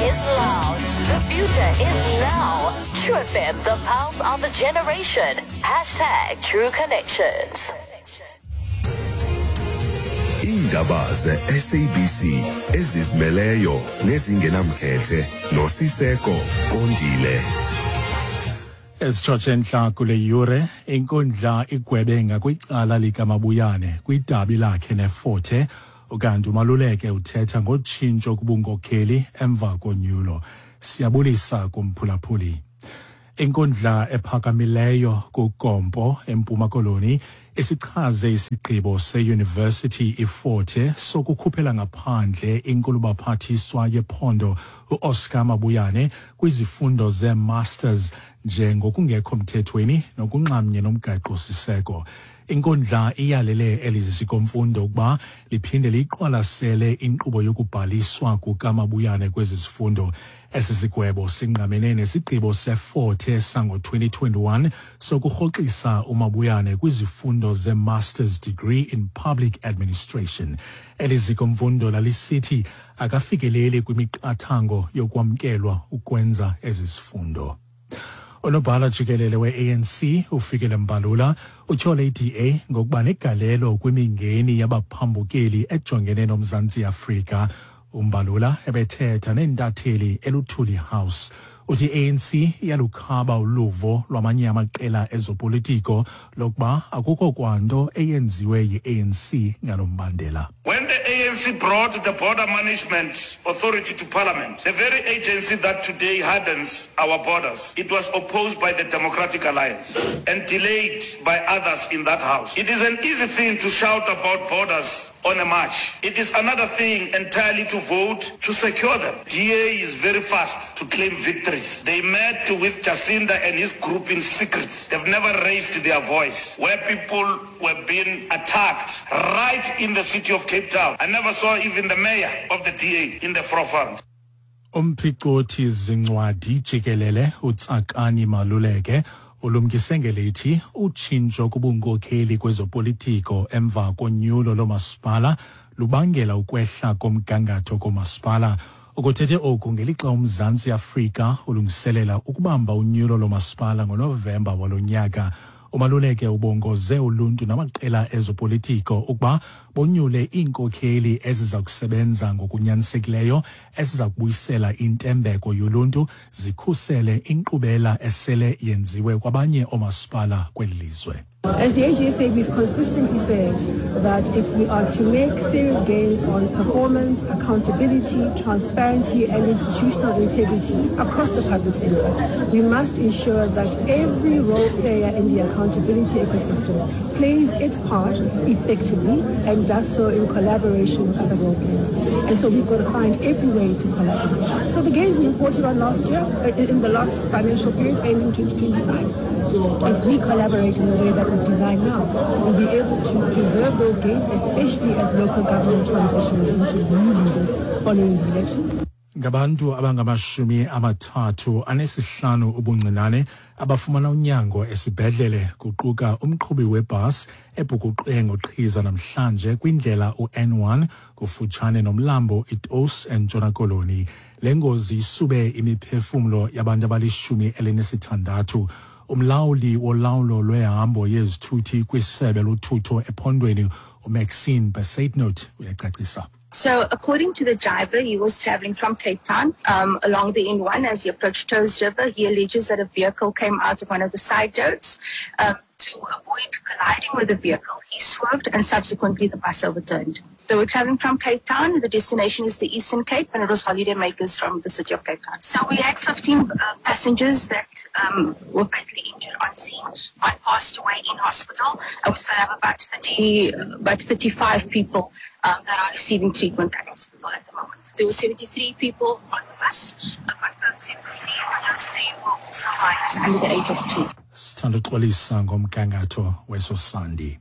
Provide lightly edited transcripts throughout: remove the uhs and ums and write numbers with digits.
is loud. The future is now. True FM, the pulse of the generation. Hashtag True Connections. Iindaba ze-SABC ezizimeleyo nezingenamkhethe noSiseko Kondile. Ezitshotshe entla kule yure, inkundla igwebe ngakwicala likaMabuyane kwidabi lakhe neForte, ukanti uMaluleke uthetha ngotshintsho kubunkokheli emva konyulo. Siyabulisa kumphulaphuli. Inkundla ephakamileyo kuGompo eMpuma Koloni isichaze isigqibo seYunivesithi iForte sokukhuphela ngaphandle inkulubaphathiswa yephondo uOscar Mabuyane kwizifundo zeeMasters njengokungekho mthethweni nokunxamnye nomgaqo-siseko. Inkundla iyalele eli ziko-mfundo ukuba liphinde liyiqwalasele inkqubo yokubhaliswa kukaMabuyane kwezi zifundo. Esi sigwebo singqamene nesigqibo seForte sango-2021 sokurhoxisa uMabuyane kwizifundo ze-Master's Degree in Public Administration. Eli ziko-mfundo lalisithi akafikeleli kwimiqathango yokwamkelwa ukwenza ezi zifundo. Unobhala jikelele we-ANC uFikile Mbalula utyhole i-DA ngokuba negalelo kwimingeni yabaphambukeli ejongene noMzantsi Afrika. UMbalula ebethetha neentatheli eLuthuli House. Uthi i-ANC iyalukhaba uluvo lwamanye amaqela ezopolitiko lokuba akukho kwanto eyenziwe yi-ANC ngalo mbandela. When the ANC brought the Border Management Authority to Parliament, the very agency that today hardens our borders, it was opposed by the Democratic Alliance and delayed by others in that house. It is an easy thing to shout about borders on a march. It is another thing entirely to vote to secure them. DA is very fast to claim victories. They met with Jacinda and his group in secret. They've never raised their voice. Where people were being attacked right in the city of Cape Town. I never saw even the mayor of the DA in the forefront. Umphicothi zincwadi jikelele uTsakani Maluleke ulumkise ngelithi utshintsho kubunkokheli kwezopolitiko emva konyulo loomasipala lubangela ukwehla komgangatho koomasipala. Ukuthethe oku ngelixa uMzantsi Afrika ulungiselela ukubamba unyulo loomasipala ngoNovemba walo nyaka. UMaluleke ubongoze uluntu namaqela ezopolitiko ukuba bonyule iinkokheli eziza kusebenza ngokunyanisekileyo eziza kubuyisela intembeko yoluntu zikhusele inkqubela esele yenziwe kwabanye oomasipala kweli lizwe. As the AGSA, we've consistently said that if we are to make serious gains on performance, accountability, transparency and institutional integrity across the public sector, we must ensure that every role player in the accountability ecosystem plays its part effectively and does so in collaboration with other role players. And so we've got to find every way to collaborate. So the gains we reported on last year, in the last financial period ending 2025, if we collaborate in the way that we've designed now, we'll be able to preserve those gains, especially as local government transitions into new leaders following the elections. Ngabantu abangamashumi amathathu anesihlanu ubuncinane abafumana unyango esibhedlele kuquka umqhubi webhasi ebhukuqe ngoqhiza namhlanje kwindlela u-N1 kufutshane nomlambo iToos eNtshona Koloni. Le ngozi isube imiphefumlo yabantu abalishumi elinesithandathu. Umlawuli wolawulo lwehambo yezithuthi kwisebe lothutho ephondweni uMaxine Bezuidenhout uyacacisa. So, according to the driver, he was traveling from Cape Town along the N1 as he approached Touws River. He alleges that a vehicle came out of one of the side roads. To avoid colliding with the vehicle, he swerved and subsequently the bus overturned. They were traveling from Cape Town. The destination is the Eastern Cape, and it was holiday makers from the city of Cape Town. So we had 15 passengers that were fatally injured on scene. One passed away in hospital, and we still have about about 35 people that are receiving treatment at hospital at the moment. There were 73 people on the bus, confirmed 73, and those three were also minors under the age of 2. Sithanda uxolisa ngomgangatho weso sandi.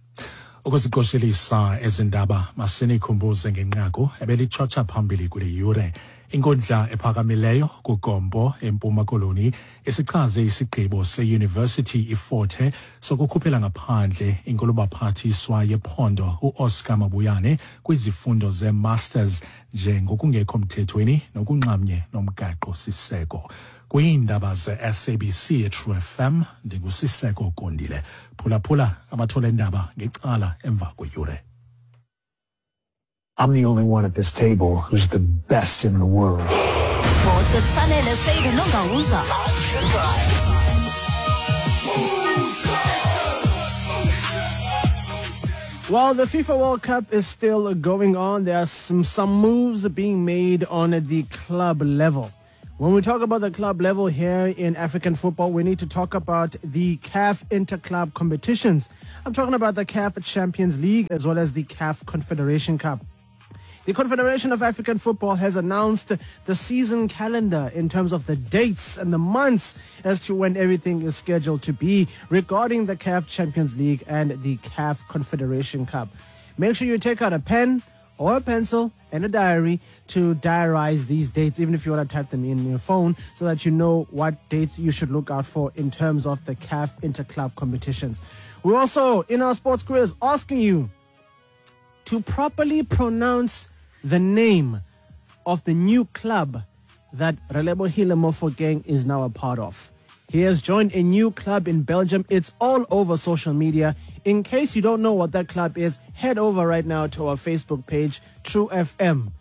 Ukuziqoshelisa ezi ndaba, masinikhumbuze ngenqaku ebelitshotsha phambili kule yure. Inkundla ephakamileyo kuGompo eMpuma Koloni isichaze isigqibo seYunivesithi iFort Hare sokukhuphela ngaphandle inkulubaphathiswa yephondo uOscar Mabuyane kwizifundo ze-masters njengokungekho mthethweni nokunxamnye nomgaqo siseko. Kwiindaba ze-SABC eTrue FM, ndinguSiseko Kondile. Phulaphula amathole endaba ngecala emva kweyure. I'm the only one at this table who's the best in the world. Sports with Sanele Said Nongauza. While the FIFA World Cup is still going on, there are some moves being made on the club level. When we talk about the club level here in African football, we need to talk about the CAF Interclub competitions. I'm talking about the CAF Champions League as well as the CAF Confederation Cup. The Confederation of African Football has announced the season calendar in terms of the dates and the months as to when everything is scheduled to be regarding the CAF Champions League and the CAF Confederation Cup. Make sure you take out a pen or a pencil and a diary to diarize these dates, even if you want to type them in your phone, so that you know what dates you should look out for in terms of the CAF Interclub competitions. We're also, in our sports quiz, asking you to properly pronounce the name of the new club that Relebohile Mofokeng is now a part of. He has joined a new club in Belgium. It's all over social media. In case you don't know what that club is, head over right now to our Facebook page, True FM.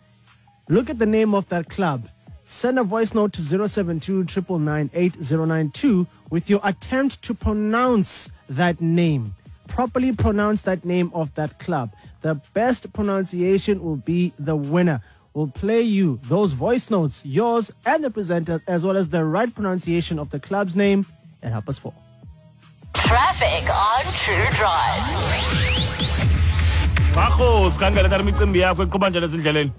Look at the name of that club. Send a voice note to 072 999 8092 with your attempt to pronounce that name. Properly pronounce that name of that club. The best pronunciation will be the winner. We'll play you those voice notes, yours and the presenters, as well as the right pronunciation of the club's name at 4:30. Traffic on True Drive. Bakho, sikhangele tata imicimbi yakho iqhuba njani ezindleleni?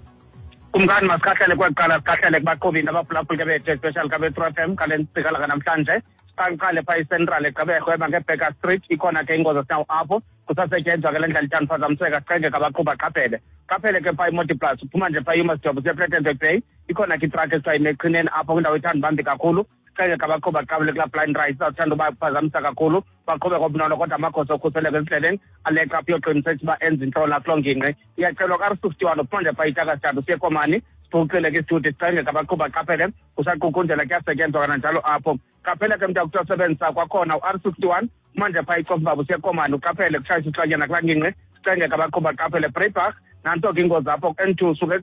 Kumkani, masikhahlele kwaqala, sikhahlele kubaqhubi nabaphulaphuli ke bethu, especially kabe-True FM ngale ntsikalaka namhlanje. Siqale phaa iCentral eGqeberha eba ngeBaker Street, ikhona ke ingozi esinawo apho, kusasetyenzwa ke le ndlela ithanda uphazamiseka, siqenge kabaqhuba qaphele. Qaphele ke phaa iMotiplus, uphuma nje phaa iMastjob usiya Plettenberg Bay, ikhona ke itruck esithiwa ime eqhineni apho kwindawo ethanda ubambi kakhulu. Siqenge kabaqhuba qabele kulaa blind right, izawuthanda uba phazamisa kakhulu, baqhube ngobunono, kodwa amagosa okhuseleko ezindleleni aleqa apho uyoqinisekisa uba enza intlola kuloo ngingqi. Iyacelwa ku-R61 uphuma nje phaa iTakastad usiya eKomani, siphucile ke isithuthi, siqenge kabaqhuba qaphele, kusaqukunjela kuyasetyenzwa kananjalo apho. Qaphele ke mntu akuthi osebenzisa kwakhona u-R61 manje phaa iCofimvaba usiya eKomani, uqaphele kutshayisa uhlwanyana kulaa ngingqi, siqenge kabaqhuba qaphele. Breyibach nanto ke ingozi apho N2 suke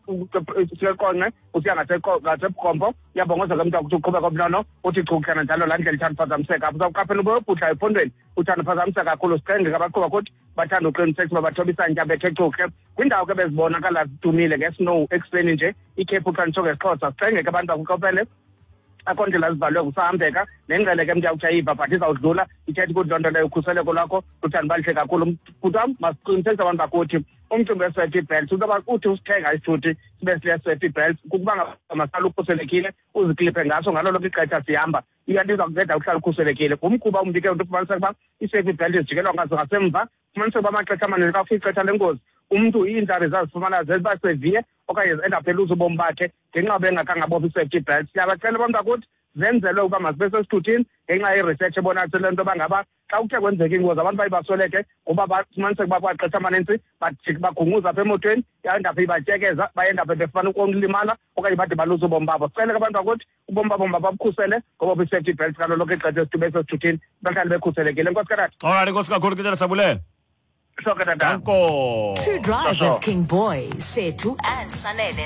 eQonce usiya ngaseBukhompo, uyabongoza ke mntu akuthi uqhube kobunono, uthi chu kananjalo laa ndlela ithanda uphazamiseka apho. Uzawuqaphela ube uyobhudla ephondweni, uthanda uphazamiseka kakhulu, siqenge kabaqhuba kuthi bathanda uqinisekisa uba bathoba isantya bethe chuhle. Kwindawo ke bezibonakala zidumile ngesnow ekuseni nje, ikhephu xa nditsho ngesiXhosa, siqenge ke abantu bakuqophele, akho ndlela zivalwe kusahambeka, nengqele ke mntu akuthi ayiva but izawudlula, ithetha ukuthi loo nto leyo ukhuseleko lwakho luthanda uba lihle kakhulu. Bhuti wam, masiqinisekise abantu bakuthi umcimbi we-safety belt, into yoba uthi usithenga isithuthi sibe sile-safety belt kukuba ngaba masala ukhuselekile, uzikliphe ngaso ngalo lonke ixesha sihamba, iyanto iza kunceda uhlala ukhuselekile. Ngumkhuba umbi ke ufumaniseka uba i-safety belt zijikelwa ngazo ngasemva, ufumaniseka uba amaxesha amaninzi xa kufika ixesha lengozi umntu iintlari zazifumana ziba severe okanye zi-end up eluza ubomi bakhe ngenxa yoba engakhange abophe i-safety belt. Siyabacela abantu bakuthi zenzelwe ukuba mazibe sesithuthini ngenxa ye-research ebonakalisile le nto yoba ngaba xa kuthe kwenzeka ingozi abantu baye basweleke ngoba bafumaniseka uba kwaxesha amanintsi bagunguza apha emotweni, yayindapha ibatyekeza, bayendapha befana ukulimala okanye bade baluze ubomi babo. Sicele ke abantu bakuthi ubomi babo mababukhusele ngoba i-safety belt ngalo lonke ixesha esithuba esesithuthini bahlale bekhuselekile. Enkosi katata. All right, enkosi kakhulu ke tata, sabulela. Hloke tata. Danko. True Drive with King Boy, Sethu and Sanele.